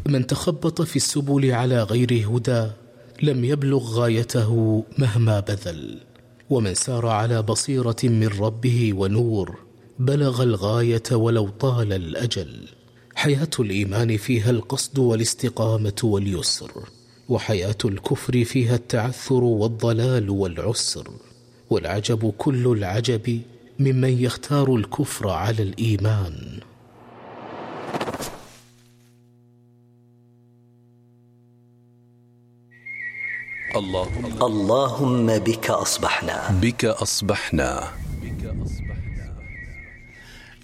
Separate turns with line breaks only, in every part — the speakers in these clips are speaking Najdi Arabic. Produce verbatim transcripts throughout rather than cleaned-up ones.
من تخبط في السبل على غير هدى لم يبلغ غايته مهما بذل، ومن سار على بصيرة من ربه ونور بلغ الغاية ولو طال الأجل. حياة الإيمان فيها القصد والاستقامة واليسر، وحياة الكفر فيها التعثر والضلال والعسر. والعجب كل العجب ممن يختار الكفر على الإيمان.
اللهم, اللهم بك أصبحنا
بك أصبحنا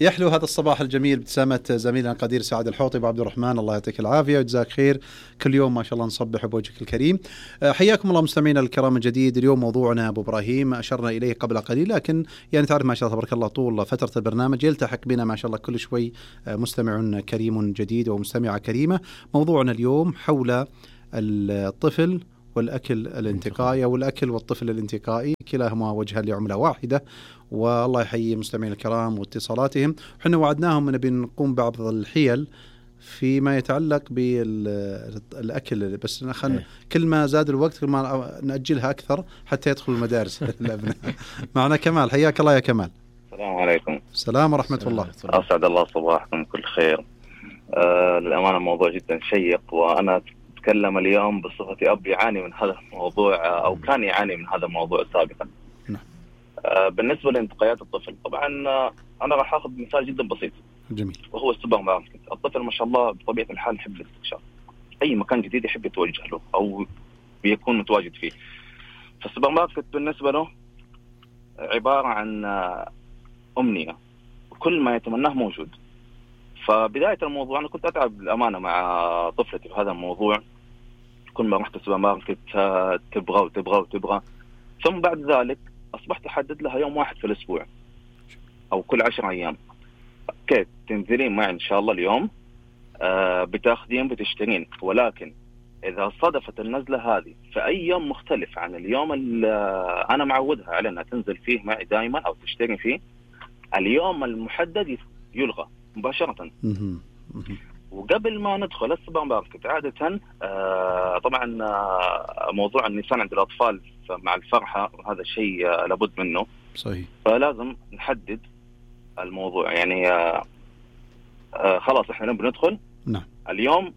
يحلو هذا الصباح الجميل ابتسامة زميلنا القدير سعد الحوطي وعبد الرحمن، الله يعطيك العافية وجزاك خير. كل يوم ما شاء الله نصبح بوجهك الكريم. حياكم الله مستمعينا الكرام من جديد. اليوم موضوعنا أبو إبراهيم أشرنا إليه قبل قليل، لكن يعني تعرف ما شاء الله تبارك الله طول فترة البرنامج يلتحق بنا ما شاء الله كل شوي مستمع كريم جديد ومستمعة كريمة. موضوعنا اليوم حول الطفل والأكل الانتقائي أو الأكل والطفل الانتقائي، كلاهما وجهان لعملة واحدة. والله يحيي مستمعين الكرام واتصالاتهم. حنا وعدناهم أن بنقوم بعض الحيل فيما يتعلق بالأكل، بس خل كل ما زاد الوقت كل ما نأجلها أكثر حتى يدخل المدارس الأبناء. معنا كمال، حياك الله يا كمال.
السلام عليكم.
السلام ورحمة الله.
أسعد الله صباحكم كل خير. آه للأمانة موضوع جدا شيق، وأنا أتكلم اليوم بصفتي أب يعاني من هذا الموضوع أو كان يعاني من هذا الموضوع سابقا.
نعم.
آه بالنسبة لانتقائيات الطفل، طبعا آه أنا راح أخذ مثال جدا بسيط.
جميل.
وهو السوبر ماركت. الطفل ما شاء الله بطبيعة الحال يحب الاستكشاف، أي مكان جديد يحب يتوجه له أو بيكون متواجد فيه. فالسوبر ماركت بالنسبة له عبارة عن آه أمنية، كل ما يتمناه موجود. فبداية الموضوع أنا كنت أتعب الأمانة مع طفلتي في هذا الموضوع. كل ما رحت السوبر ماركت تبغى وتبغى وتبغى، ثم بعد ذلك أصبحت أحدد لها يوم واحد في الأسبوع أو كل عشر أيام. أوكي تنزلين معي إن شاء الله اليوم، آه بتاخذين بتشترين، ولكن إذا صدفت النزلة هذه في أي يوم مختلف عن اليوم اللي أنا معودها على أنها تنزل فيه معي دائما أو تشتري فيه، اليوم المحدد يلغى مباشرة. وقبل ما ندخل السوبر ماركت عادة آه طبعا آه موضوع النيسان عند الأطفال مع الفرحة هذا الشيء آه لابد منه.
صحيح.
فلازم نحدد الموضوع، يعني آه آه خلاص احنا بندخل.
نعم.
اليوم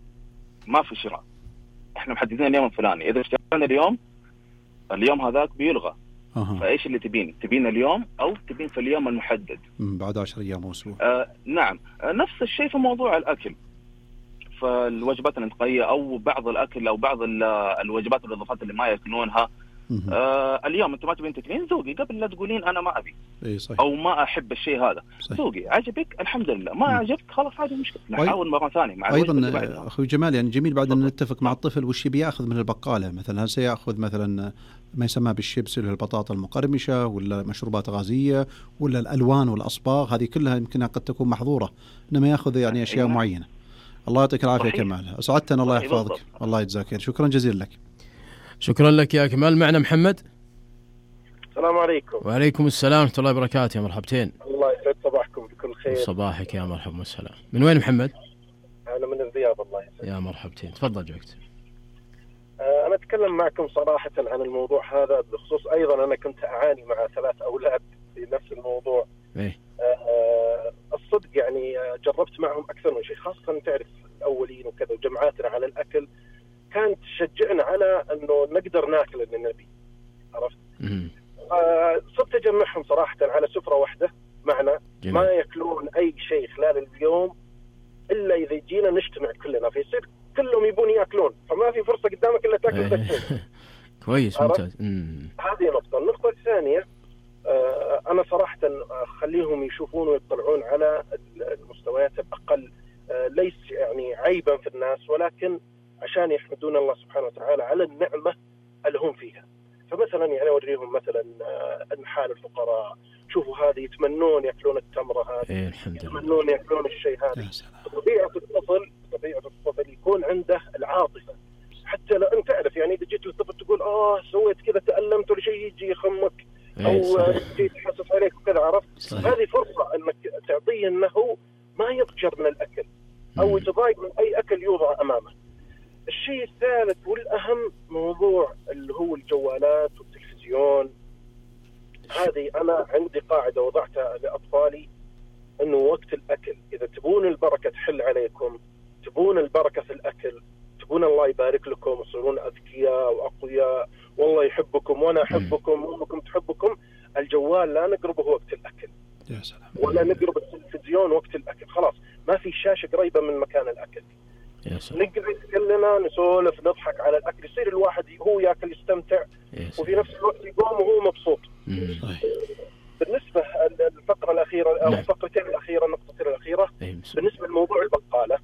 ما في شراء، احنا محددين اليوم الفلاني، إذا اشترينا اليوم اليوم هذاك بيلغى.
أه.
فايش اللي تبين؟ تبين اليوم او تبين في اليوم المحدد
بعد عشر ايام او اسبوع؟
آه نعم. آه نفس الشيء في موضوع الاكل، فالوجبات الانتقائيه او بعض الاكل او بعض الوجبات والاضافات اللي ما ياكلونها. آه اليوم انت ما تبين تاكلين، ذوقي قبل لا تقولين انا ما ابي.
إيه صحيح.
او ما احب الشيء هذا. ذوقي عجبك الحمد لله، ما عجبك خلاص هذه مشكله، نحاول مره ثانيه مع
ايضا اخوي جمال. يعني جميل بعد ان نتفق مع الطفل وش بياخذ من البقاله. مثلا هل سياخذ مثلا ما يسمى بالشيبس اللي البطاطا المقرمشه، ولا مشروبات غازيه، ولا الالوان والاصباغ، هذه كلها يمكنها قد تكون محظوره، انما ياخذ يعني اشياء
أيوة.
معينه. الله يعطيك العافيه كمال، اسعدتنا الله يحفظك. الله يجزاك خير، شكرا جزيلا لك.
شكرا لك يا كمال. معنا محمد.
السلام عليكم.
وعليكم السلام ورحمة الله وبركاته. يا مرحبتين.
الله يسعد صباحكم بكل خير.
صباحك يا مرحبا والسلام. من وين محمد؟
أنا من الرياض. الله يسعد.
يا مرحبتين، تفضل جوكت.
آه أنا أتكلم معكم صراحة عن الموضوع هذا بخصوص. أيضا أنا كنت أعاني مع ثلاث أولاد في نفس الموضوع.
إيه؟
آه الصدق يعني جربت معهم أكثر من شيء، خاصة تعرف الأولين وكذا، وجمعاتنا على الأكل كانت تشجعنا على أنه نقدر ناكل اللي نبي. عرفت؟ آه صرت أجمعهم صراحة على سفرة واحدة معنا. جميل. ما يأكلون أي شيء خلال اليوم إلا إذا جينا نجتمع كلنا، فيصير كلهم يبون يأكلون، فما في فرصة قدامك إلا تأكل تكتين.
كويس ممتاز.
هذه نقطة. النقطة الثانية آه أنا صراحة أخليهم يشوفون ويطلعون على المستويات الأقل، آه ليس يعني عيبا في الناس، ولكن عشان يحمدون الله سبحانه وتعالى على النعمة اللي هم فيها. فمثلا يعني أوريهم مثلا أنحال الفقراء، شوفوا هذه يتمنون يأكلون التمرة هذه.
إيه الحمد لله.
يتمنون يأكلون الشيء هذا. طبيعة الطفل طبيعة الطفل يكون عنده العاطفة، حتى لو أنت تعرف يعني إذا جيت للطفل تقول آه سويت كذا تألمت ولا شيء، يجي يخمك أو يجي يتحسس عليك وكذا. عرفت؟ هذه فرصة أنك تعطيه أنه ما يضجر من الأكل. أو يتضايق من أي أكل يوضع أمامه. الشيء الثالث والأهم موضوع اللي هو الجوالات والتلفزيون. هذه أنا عندي قاعدة وضعتها لأطفالي، أنه وقت الأكل إذا تبون البركة تحل عليكم، تبون البركة في الأكل، تبون الله يبارك لكم وتصيرون أذكياء وأقوياء والله يحبكم وأنا أحبكم وأمكم تحبكم، الجوال لا نقربه وقت الأكل.
يا سلام.
ولا نقرب التلفزيون وقت الأكل. خلاص ما في شاشة قريبة من مكان الأكل. نقعد كلنا نسولف نضحك على الأكل، يصير الواحد هو يأكل يستمتع وفي نفس الوقت يقوم وهو مبسوط. بالنسبة للفقرة الأخيرة أو الفقرتين الأخيرة النقطتين الأخيرة بالنسبة لموضوع البقالة،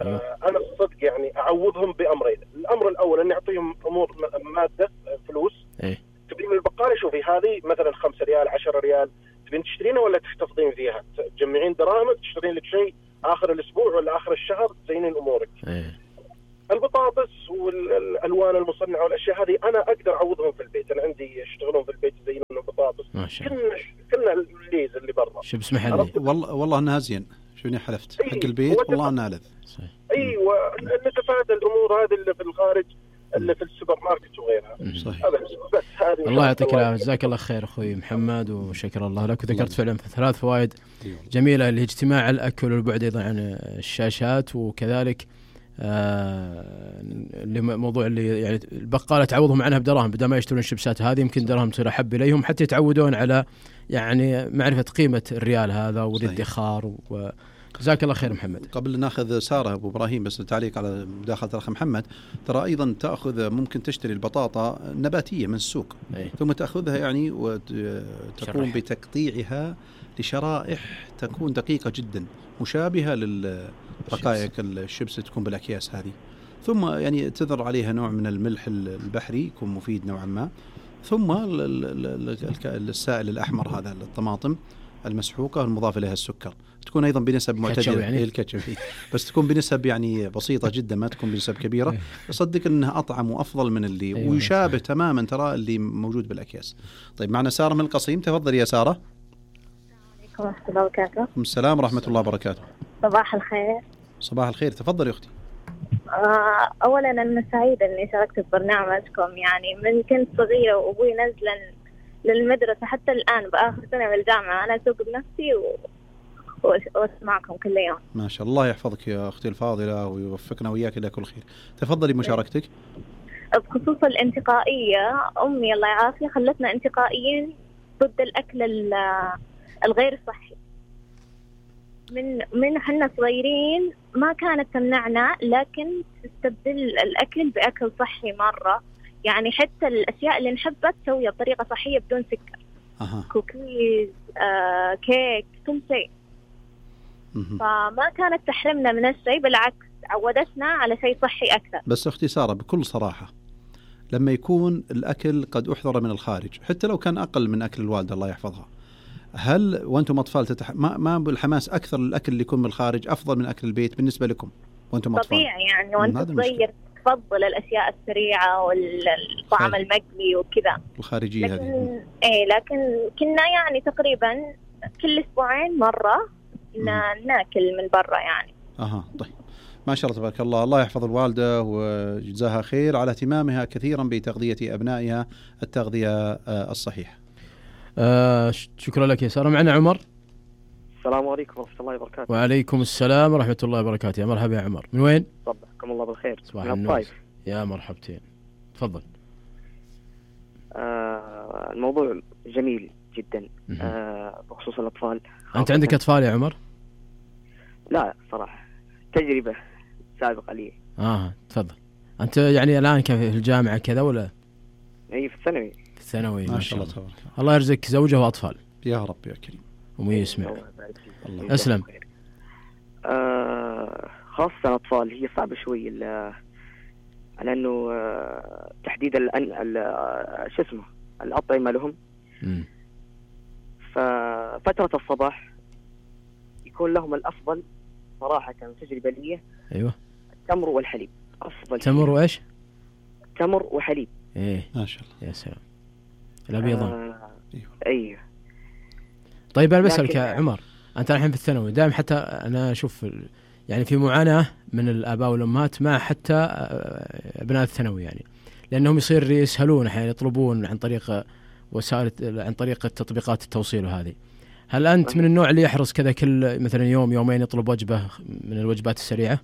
آه أنا الصدق يعني أعوضهم بأمرين. الأمر الأول أن أعطيهم أمور مادة فلوس. تبين البقالة شوفي هذه مثلا خمسة ريال عشرة ريال تبين تشترينها ولا تحتفظين فيها؟ تجمعين دراهمك تشترين لك شيء آخر الأسبوع ولا آخر الشهر تزينين أمورك.
أيه.
البطاطس والألوان المصنعة والأشياء هذه أنا أقدر أعوضهم في البيت. أنا عندي يشتغلون في البيت يزينون البطاطس. كلنا كلنا الليز اللي برا.
شو بسمح لي؟
والله والله أنها زين. شوني حلفت حق البيت والله أنها لذ.
أيوة نتفادى الأمور هذه اللي في الخارج اللي في السوبر ماركت وغيرها.
صحيح.
بس هذه
الله يعطيك العافية. جزاك الله خير أخوي محمد وشكر الله لك. وذكرت فعلا ثلاث فوائد جميلة اللي اجتماع الأكل والبعد أيضا عن الشاشات، وكذلك آه لموضوع اللي يعني البقالة تعوضهم عنها بدراهم بدل ما يشترون الشيبسات هذه، يمكن درهم تصير أحب إليهم حتى يتعودون على يعني معرفة قيمة الريال هذا والادخار. وجزاك الله خير محمد.
قبل ناخذ سارة أبو إبراهيم بس تعليق على مداخلة الأخ محمد، ترى أيضا تأخذ ممكن تشتري البطاطا نباتية من السوق
أي.
ثم تأخذها يعني وتقوم بتقطيعها لشرائح تكون دقيقة جدا مشابهة للرقائق الشيبس تكون بالأكياس هذه، ثم يعني تذر عليها نوع من الملح البحري يكون مفيد نوعا ما، ثم السائل الأحمر هذا الطماطم المسحوقة المضاف لها السكر تكون أيضا بنسب معتدلة يعني. الكاتشب بس تكون بنسب يعني بسيطة جدا ما تكون بنسب كبيرة. أصدق أنها أطعم وأفضل من اللي أيوة ويشابه تماما ترى اللي موجود بالأكياس. طيب معنا سارة من القصيم، تفضل يا سارة.
السلام ورحمة الله وبركاته.
السلام ورحمة الله وبركاته.
صباح الخير.
صباح الخير، تفضل يا أختي.
أولا أنا سعيدة أني شاركت في برنامجكم، يعني من كنت صغيرة وأبوي نزلا للمدرسة حتى الآن بآخر سنة من الجامعة أنا أسوق بنفسي و... وأسمعكم كل يوم.
ما شاء الله يحفظك يا أختي الفاضلة ويوفقنا وإياك إلى كل خير. تفضلي مشاركتك.
بخصوص الانتقائية، أمي الله يعافيها خلتنا انتقائيين ضد الأكل الغير صحي. من من حنا صغيرين ما كانت تمنعنا، لكن تستبدل الأكل بأكل صحي مرة. يعني حتى الأشياء اللي نحبها تسويها بطريقة صحية بدون سكر.
أه.
كوكيز، آه، كيك، كل شيء. فما كانت تحرمنا من الشيء، بالعكس عودتنا على شيء صحي أكثر.
بس أختي سارة بكل صراحة، لما يكون الأكل قد أحضر من الخارج حتى لو كان أقل من أكل الوالدة الله يحفظها، هل وأنتم أطفال تتح... ما ما بالحماس أكثر الأكل اللي يكون من الخارج أفضل من أكل البيت بالنسبة لكم وأنتم أطفال؟
طبيعي يعني وأنت صغير تفضل الأشياء السريعة والطعام المقلي وكذا
الخارجية
لكن...
هذه.
إيه لكن كنا يعني تقريبا كل أسبوعين مرة ناكل من برا يعني.
أها طيب ما شاء الله تبارك الله. الله يحفظ الوالدة وجزاها خير على اهتمامها كثيرا بتغذية أبنائها التغذية الصحيحة.
آه شكرا لك يا سارة. معنا عمر.
السلام عليكم ورحمة الله وبركاته.
وعليكم السلام ورحمة الله وبركاته. يا مرحبا يا عمر، من وين؟
صبحكم الله بالخير.
صباح النور. يا مرحبتين، تفضل.
آه الموضوع جميل جدا آه بخصوص الأطفال.
أنت عندك أطفال يا عمر؟
لا صراحة تجربة سابقة لي.
آه تفضل. أنت يعني الآن كيف في الجامعة كذا ولا؟
أي في الثانوي.
في الثانوي
ما شاء الله تبارك
الله. الله يرزقك زوجة وأطفال.
يا رب يا كريم.
ومي يسمع. الله أسلم.
آه خاصة الأطفال هي صعبة شوي لأنه آه تحديد الأن شو اسمه الأطعمة لهم.
م.
ففترة الصباح يكون لهم الأفضل صراحة تجربة لي.
أيوة.
التمر والحليب أفضل.
تمر وإيش؟
تمر وحليب.
إيه
ما شاء الله.
يا سلام. الأبيضان.
آه أيوه.
طيب أنا بسألك يا عمر، أنت الحين في الثانوي دائما حتى أنا أشوف يعني في معاناة من الآباء والأمهات مع حتى أبناء الثانوي، يعني لأنهم يصير يسهلون أحيانا يطلبون عن طريق وسائل عن طريق تطبيقات التوصيل وهذه. هل أنت من النوع اللي يحرص كذا كل مثلا يوم يومين يطلب وجبة من الوجبات السريعة؟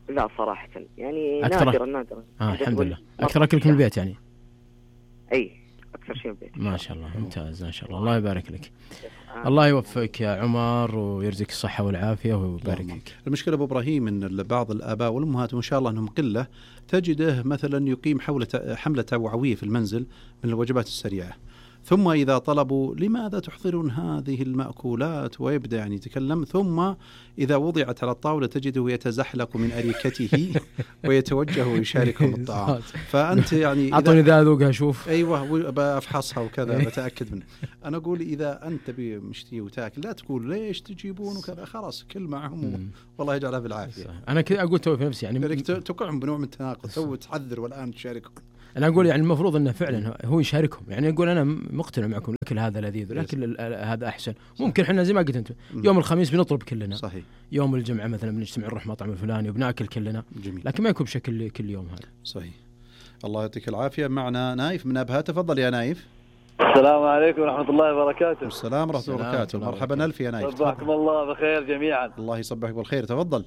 لا صراحة يعني
أكثر
نادرا نادرا.
آه الحمد لله. أكثر أكلك من البيت يعني؟
أي أكثر شيء البيت.
ما شاء الله ممتاز ما شاء الله. الله يبارك لك. الله يوفقك يا عمر ويرزقك الصحة والعافية ويبارك لك.
المشكلة أبو إبراهيم أن بعض الآباء والأمهات وإن شاء الله أنهم قلة تجده مثلا يقيم حولة حملة توعوية في المنزل من الوجبات السريعة، ثم إذا طلبوا لماذا تحضرون هذه المأكولات ويبدأ يعني يتكلم، ثم إذا وضعت على الطاولة تجده يتزحلق من أريكته ويتوجه ويشاركهم الطعام. فأنت يعني
أعطوني ذا ذوقها شوف.
أيوة بأفحصها وكذا بتأكد منه. أنا أقول إذا أنت بمشتي وتاكل لا تقول ليش تجيبون وكذا، خلاص كل معهم والله يجعلها بالعافية.
أنا كذا أقول توي في نفسي يعني
تقعهم بنوع من التناقض، تو تحذر والآن تشاركهم.
أنا أقول يعني المفروض أنه فعلا هو يشاركهم، يعني يقول أنا مقتنع معكم الأكل هذا لذيذ والأكل هذا أحسن. ممكن إحنا زي ما قلت أنت يوم الخميس بنطلب كلنا، صحيح. يوم الجمعة مثلا بنجتمع نروح مطعم الفلاني وبناكل كلنا، جميل. لكن ما يكون بشكل كل يوم هذا.
صحيح. الله يعطيك العافية. معنا نايف من أبها، تفضل يا نايف.
السلام عليكم ورحمة الله وبركاته.
السلام ورحمة الله وبركاته. مرحبا ألف يا نايف.
صباحكم الله بخير جميعا.
الله يصبحك بالخير، تفضل.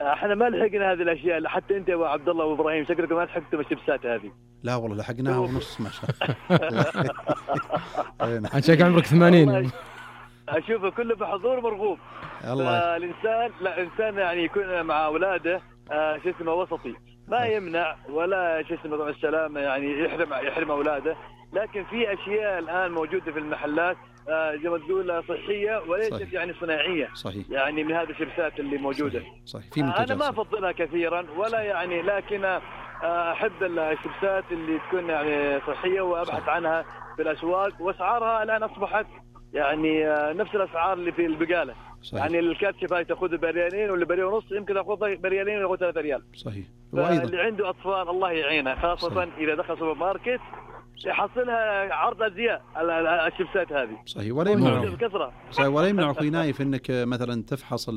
احنا ما لحقنا هذه الاشياء، حتى انت يا عبد الله وابراهيم شكلكم ما لحقتوا الشبسات هذه.
لا والله لحقناها ونص ما شاء
الله. عشان عمرك ثمانين.
اشوفه كله بحضور مرغوب. الانسان لا انسان يعني يكون مع اولاده آه شو اسمه وسطي، ما يمنع ولا شو اسمه السلامه يعني يحرم يحرم اولاده، لكن في اشياء الان موجوده في المحلات آه زي ما تقول صحيه وليست يعني صناعيه.
صحيح.
يعني من هذه الشبسات اللي موجوده.
صحيح. صحيح. في
آه انا ما افضلها كثيرا ولا يعني، لكن آه احب الشبسات اللي تكون يعني صحيه وابحث صحيح. عنها في الاسواق، واسعارها الان اصبحت يعني آه نفس الاسعار اللي في البقاله. صحيح. يعني الكاتشب هاي تاخذ بريالين ولا بريال ونص، يمكن تاخذ بريالين وياخذ ثلاثة ريال.
صحيح.
اللي عنده اطفال الله يعينه، خاصه صحيح. اذا دخل سوبر ماركت يحصلها عرض ازياء الشبسات هذه.
صحيح. ولا يمنع صحيح ولا يمنع اخوي نايف انك مثلا تفحص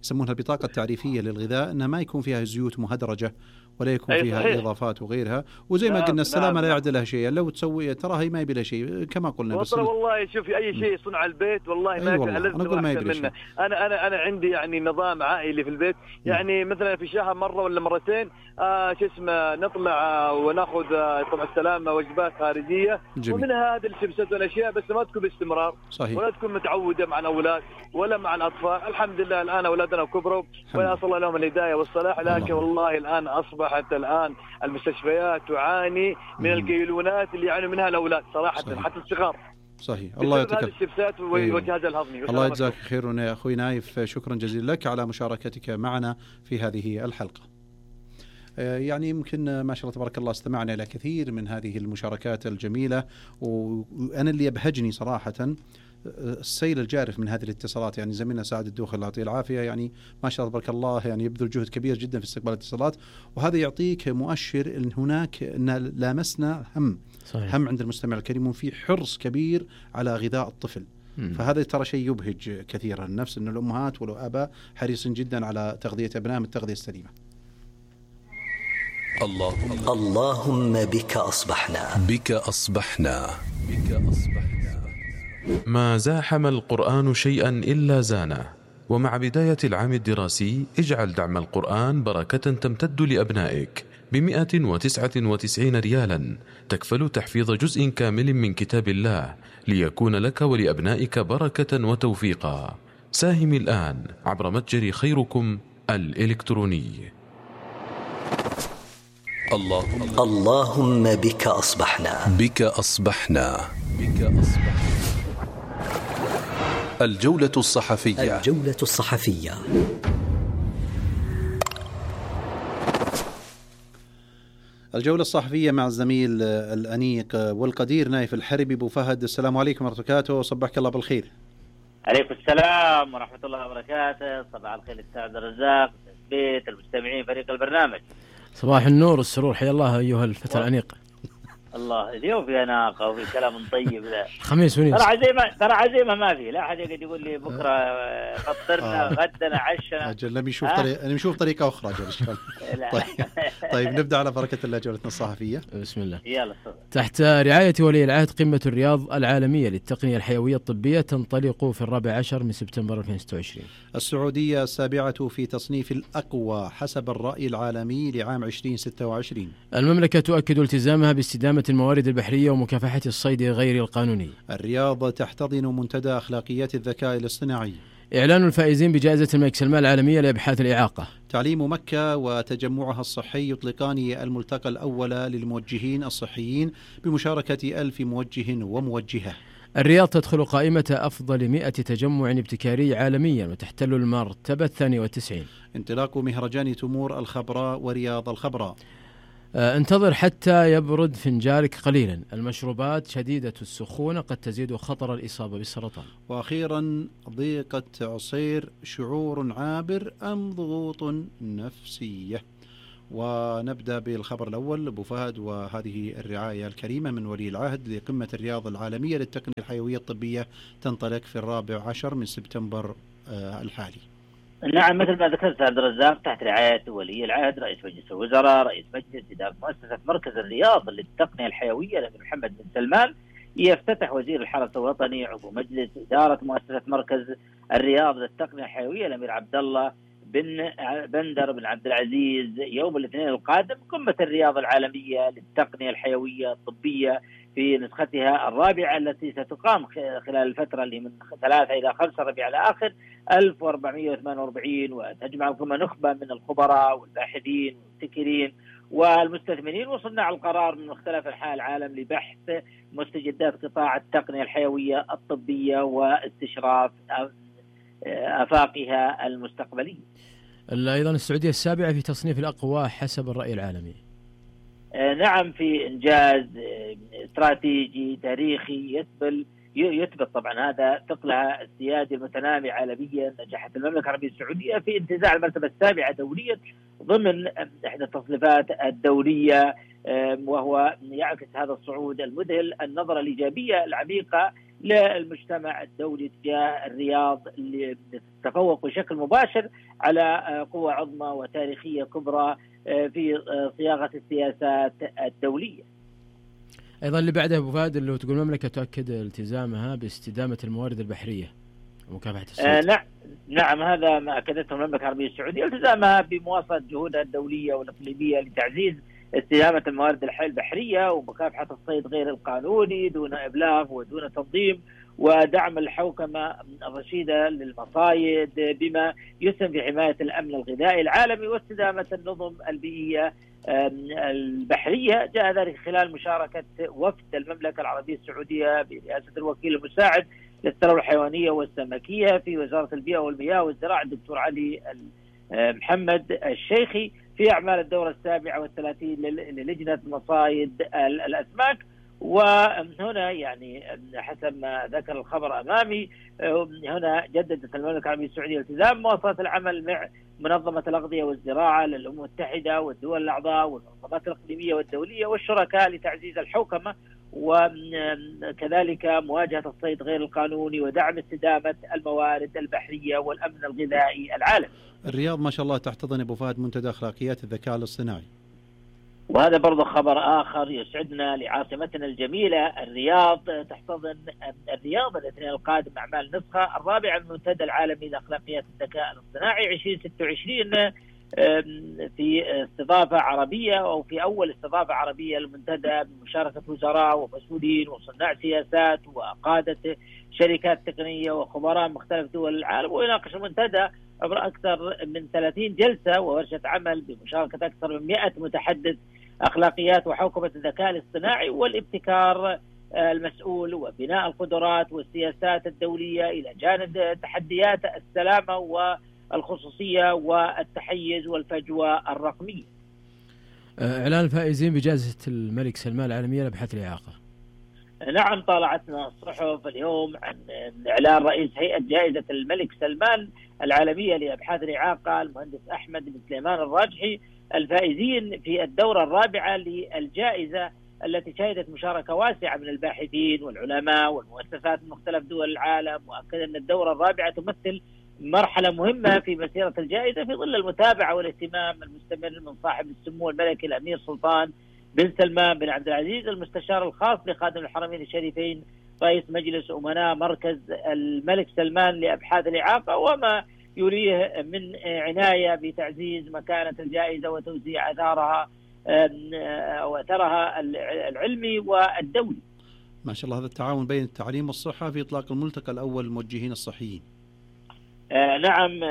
يسمونها البطاقه التعريفيه للغذاء، انها ما يكون فيها زيوت مهدرجه ولا يكون فيها صحيح. اضافات وغيرها، وزي ما قلنا السلامه نعم. لا يعدلها شيء، لو تسوي ترى هي ما يبي لها شيء كما قلنا.
بس والله شوفي اي شيء صنع البيت والله ما
أيوة
لازم
انا اقول ما يبي
منه. انا انا انا عندي يعني نظام عائلي في البيت، يعني م. مثلا في شهر مره ولا مرتين آه شو اسمه نطلع آه وناخذ آه طبعا السلامه وجبات خارجيه جميل. ومنها هذه الشبسات والاشياء، بس ما تكون باستمرار صحيح. ولا تكون متعوده مع الاولاد ولا مع الاطفال. الحمد لله الان اولادنا كبروا ونسال الله لهم الهدايه والصلاح، لكن والله الان اصبحت الان المستشفيات تعاني من مم. القيلونات اللي يعانوا منها الاولاد صراحه صحيح. حتى الصغار.
صحيح. الله يعطيك
الشبسات والجهاز الهضمي.
الله يجزاك خير يا اخوي نايف، شكرا جزيلا لك على مشاركتك معنا في هذه الحلقه. يعني يمكن ما شاء الله تبارك الله استمعنا إلى كثير من هذه المشاركات الجميلة، وأنا اللي يبهجني صراحة السيل الجارف من هذه الاتصالات. يعني زميلنا سعد الدوخي الله يعطيه العافية يعني ما شاء الله تبارك الله يعني يبذل جهد كبير جدا في استقبال الاتصالات، وهذا يعطيك مؤشر أن هناك أن لامسنا هم صحيح. هم عند المستمع الكريم في حرص كبير على غذاء الطفل. مم. فهذا ترى شيء يبهج كثيرا النفس، أن الأمهات والآباء حريصين جدا على تغذية أبنائهم التغذية السليمة.
اللهم اللهم بك أصبحنا
بك أصبحنا بك أصبحنا. ما زاحم القرآن شيئا إلا زانه، ومع بداية العام الدراسي اجعل دعم القرآن بركة تمتد لأبنائك بمئة وتسعة وتسعين ريالا تكفل تحفيظ جزء كامل من كتاب الله ليكون لك ولأبنائك بركة وتوفيقا. ساهم الآن عبر متجر خيركم الإلكتروني.
اللهم اللهم بك أصبحنا
بك أصبحنا بك أصبحنا. الجولة الصحفية
الجولة الصحفية.
الجولة الصحفية مع الزميل الأنيق والقدير نايف الحربي. أبو فهد السلام عليكم ورحمة الله وبركاته، صبحك الله بالخير.
عليكم السلام ورحمة الله وبركاته، صباح الخير السعد الرزاق تثبيت المستمعين فريق البرنامج.
صباح النور والسرور، حيا الله أيها الفتى الأنيق.
الله اليوم في ناقة وفي كلام طيب. ذا
خميس ونيس
ترى عزيمة، ترى عزيمة ما في، لا أحد يقعد يقول لي بكرة فطرنا
آه.
غدنا عشنا.
أجل لم يشوف طريقة، لم يشوف طريقة أخرى أجل. طيب. طيب نبدأ على بركة الله جولتنا الصحفية.
بسم الله.
يلا.
تحت رعاية ولي العهد قمة الرياض العالمية للتقنية الحيوية الطبية تنطلق في الرابع عشر من سبتمبر ألفين وستة وعشرين.
السعودية السابعة في تصنيف الأقوى حسب الرأي العالمي لعام ألفين وستة وعشرين.
المملكة تؤكد التزامها باستدامة الموارد البحرية ومكافحة الصيد غير القانوني.
الرياض تحتضن منتدى أخلاقيات الذكاء الاصطناعي.
إعلان الفائزين بجائزة الملك سلمان العالمية لأبحاث الإعاقة.
تعليم مكة وتجمعها الصحي يطلقان الملتقى الأول للموجهين الصحيين بمشاركة ألف موجه وموجهة.
الرياض تدخل قائمة أفضل مئة تجمع ابتكاري عالميا وتحتل المرتبة الثانية والتسعين.
انطلاق مهرجان تمور الخبراء ورياض الخبراء.
انتظر حتى يبرد فنجانك قليلا، المشروبات شديدة السخونة قد تزيد خطر الإصابة بالسرطان.
وأخيرا ضيقة عصير شعور عابر أم ضغوط نفسية؟ ونبدأ بالخبر الأول أبو فهد، وهذه الرعاية الكريمة من ولي العهد لقمة الرياض العالمية للتقنية الحيوية الطبية تنطلق في الرابع عشر من سبتمبر الحالي.
نعم مثل ما ذكرت عبد الرزاق، تحت رعاية ولي العهد رئيس مجلس الوزراء رئيس مجلس إدارة مؤسسة مركز الرياض للتقنية الحيوية الأمير محمد بن سلمان، يفتتح وزير الحرس الوطني عضو مجلس إدارة مؤسسة مركز الرياض للتقنية الحيوية الأمير عبد الله بن بندر بن عبد العزيز يوم الاثنين القادم قمة الرياض العالمية للتقنية الحيوية الطبية في نسختها الرابعة التي ستقام خلال الفترة اللي من ثلاثة إلى خمسة ربيع الآخر ألف وأربعمائة وثمانية وأربعين، وتجمع القمة نخبة من الخبراء والباحثين والمبتكرين والمستثمرين وصناع القرار من مختلف أنحاء العالم لبحث مستجدات قطاع التقنية الحيوية الطبية واستشراف آفاقها المستقبلية.
أيضا السعودية السابعة في تصنيف الأقوى حسب الرأي العالمي.
نعم في إنجاز استراتيجي تاريخي يثبت يثبت طبعا هذا ثقلها السيادي المتنامي عالميا. نجحت المملكة العربية السعودية في انتزاع المرتبة السابعة دوليا ضمن إحدى التصنيفات الدولية، وهو يعكس هذا الصعود المذهل النظرة الإيجابية العميقة للمجتمع الدولي تجاه الرياض اللي تتفوق بشكل مباشر على قوة عظمى وتاريخية كبرى في صياغة السياسات الدولية.
أيضا اللي بعدها أبو فهد اللي تقول المملكة تؤكد التزامها باستدامة الموارد البحرية ومكافحة الصيد.
آه نعم نعم هذا ما أكدته المملكة العربية السعودية، التزامها بمواصلة جهودها الدولية والإقليمية لتعزيز استدامة الموارد البحرية ومكافحة الصيد غير القانوني دون إبلاغ ودون تنظيم، ودعم الحوكمة الرشيدة للمصايد بما يسهم في حماية الأمن الغذائي العالمي واستدامة النظم البيئية البحرية. جاء ذلك خلال مشاركة وفد المملكة العربية السعودية برئاسة الوكيل المساعد للثروة الحيوانية والسمكية في وزارة البيئة والمياه والزراعة الدكتور علي محمد الشيخي في أعمال الدورة السابعة والثلاثين للجنة مصايد الأسماك. وهنا يعني حسب ما ذكر الخبر أمامي، هنا جددت المملكة العربية السعودية التزام مواصلة العمل مع منظمة الأغذية والزراعة للأمم المتحدة والدول الأعضاء والمنظمات الإقليمية والدولية والشركاء لتعزيز الحوكمة وكذلك مواجهة الصيد غير القانوني ودعم استدامة الموارد البحرية والأمن الغذائي العالمي.
الرياض ما شاء الله تحتضن أبو فهد منتدى أخلاقيات الذكاء الاصطناعي،
وهذا برضو خبر آخر يسعدنا لعاصمتنا الجميلة. الرياض تحتضن الرياض الاثنين القادم أعمال نسخة الرابعة من المنتدى العالمي لأخلاقيات الذكاء الاصطناعي ألفين وستة وعشرين في استضافة عربية أو في أول استضافة عربية للمنتدى بمشاركة وزراء ومسؤولين وصناع سياسات وقادة شركات تقنية وخبراء مختلف دول العالم. ويناقش المنتدى عبر أكثر من ثلاثين جلسة وورشة عمل بمشاركة أكثر من مئة متحدث أخلاقيات وحوكمة الذكاء الاصطناعي والابتكار المسؤول وبناء القدرات والسياسات الدولية إلى جانب تحديات السلامة والخصوصية والتحيز والفجوة الرقمية.
إعلان الفائزين بجائزة الملك سلمان العالمية لأبحاث الإعاقة.
نعم طالعتنا الصحف اليوم عن إعلان رئيس هيئة جائزة الملك سلمان العالمية لأبحاث الإعاقة المهندس أحمد بن سليمان الراجحي الفائزين في الدورة الرابعة للجائزة التي شهدت مشاركة واسعة من الباحثين والعلماء والمؤسسات من مختلف دول العالم، وأكد أن الدورة الرابعة تمثل مرحلة مهمة في مسيرة الجائزة في ظل المتابعة والاهتمام المستمر من صاحب السمو الملكي الأمير سلطان بن سلمان بن عبد العزيز المستشار الخاص لخادم الحرمين الشريفين رئيس مجلس أمناء مركز الملك سلمان لأبحاث الإعاقة، وما يريه من عناية بتعزيز مكانة الجائزة وتوزيع أثارها وأثرها العلمي والدولي.
ما شاء الله، هذا التعاون بين التعليم والصحة في إطلاق الملتقى الأول للموجهين الصحيين.
آه نعم،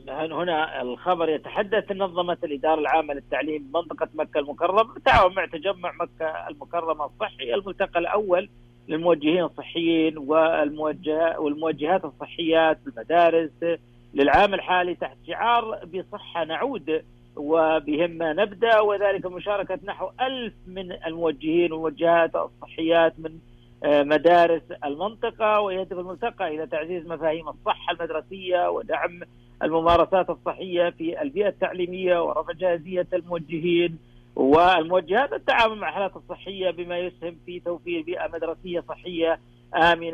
هنا الخبر يتحدث نظمت الإدارة العامة للتعليم بمنطقة مكة المكرمة بالتعاون مع تجمع مكة المكرمة الصحي الملتقى الأول للموجهين الصحيين والموجه والموجهات الصحيات في المدارس للعام الحالي تحت شعار بصحة نعود وبهمة نبدأ، وذلك مشاركة نحو ألف من الموجهين والموجهات الصحيات من مدارس المنطقة. ويهدف الملتقى إلى تعزيز مفاهيم الصحة المدرسية ودعم الممارسات الصحية في البيئة التعليمية ورفع جاهزية الموجهين والموجهات التعامل مع الحالات الصحية بما يسهم في توفير بيئة مدرسية صحية آمنة